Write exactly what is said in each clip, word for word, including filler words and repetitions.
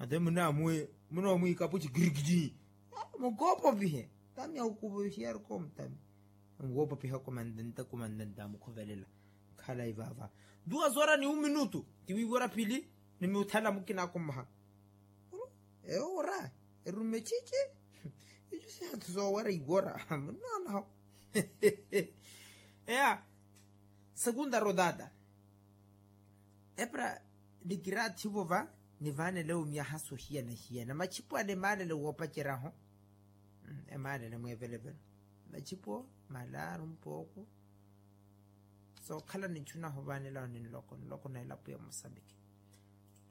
Mate munaamwi munoomwiikapuci girigiri. Mukoopopihe tami akukupuhiya arikomu tami. Nwoopopihako mantanta ku mantanta amukhovelela. Khalayi vaava duwa zoora ni uminutu. Tiwiiwora pili ni muthala mukinaako mmaha. Ewo wora erumme cici. Ico sihathu soowora iwora munonaho. Eya. Segunda rodada. Epara nikiraathi-vo va nivaanele omiyaha sohiyana-hiyana machipo ale emaalele woopacerya-ho. Emaalele mweevelevelo machipo malaaru mpooko. Sookhala ninchuna-ho vaanela-ho ni nloko nloko na elapo ya mosambiki.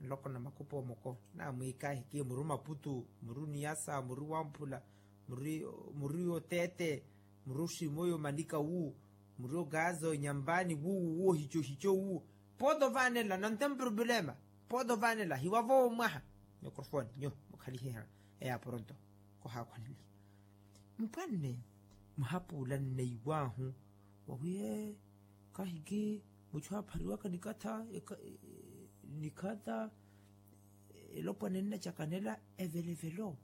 Nloko na makupo moko naamwiikahiki muri maputu muri niyasa muri wamphula muri oteete muri oshimoyo manika wu muri ogaza onyampani wuwu wohicohico wu. Poota ovaanela nantemprobulema. Poota ovaanela hiwavo omwaha. Mikrofoni nyo mukhalihiha eya poronto. Kohakhwaneliha mpwanne muhapuula nneiwaahu wawiye kahiki muchu aphariwaka nikatha nikatha elopwana ennacakanela evelevelo.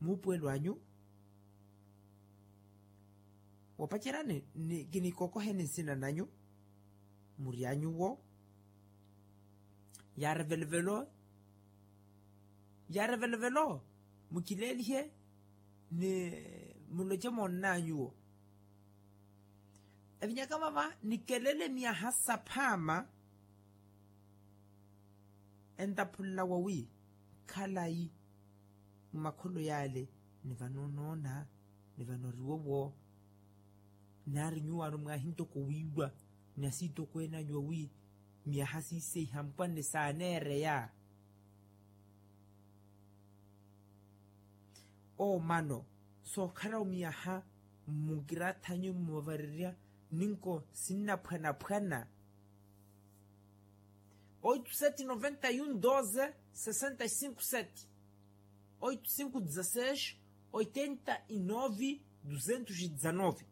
Muupuwelo anyu woopaceryani kinikokoheni nsina nanyu. Muri anyuwo yaarevelevelo yaarevelevelo mukileelihe ni muloce moonnanyuwo. Evinyaka vava nikelele miyaha saphaama. Entaphunla wawi khalayi mumakholo yale ni vano onoona ni vano oriwowo. Naari nyuwaano mwaahi ntoko wiiwa ni asiitokweene anyu wawi miyaha siiseiha mpwanne saaneereya. Oomano sookhala omiyaha mmukirathanyu mmuvarirya ninko sinnaphwanaphwana. Oito sete noventa e um doze sessenta e cinco sete. Oito cinco dezasseis oitenta e nove duzentos e dezanove.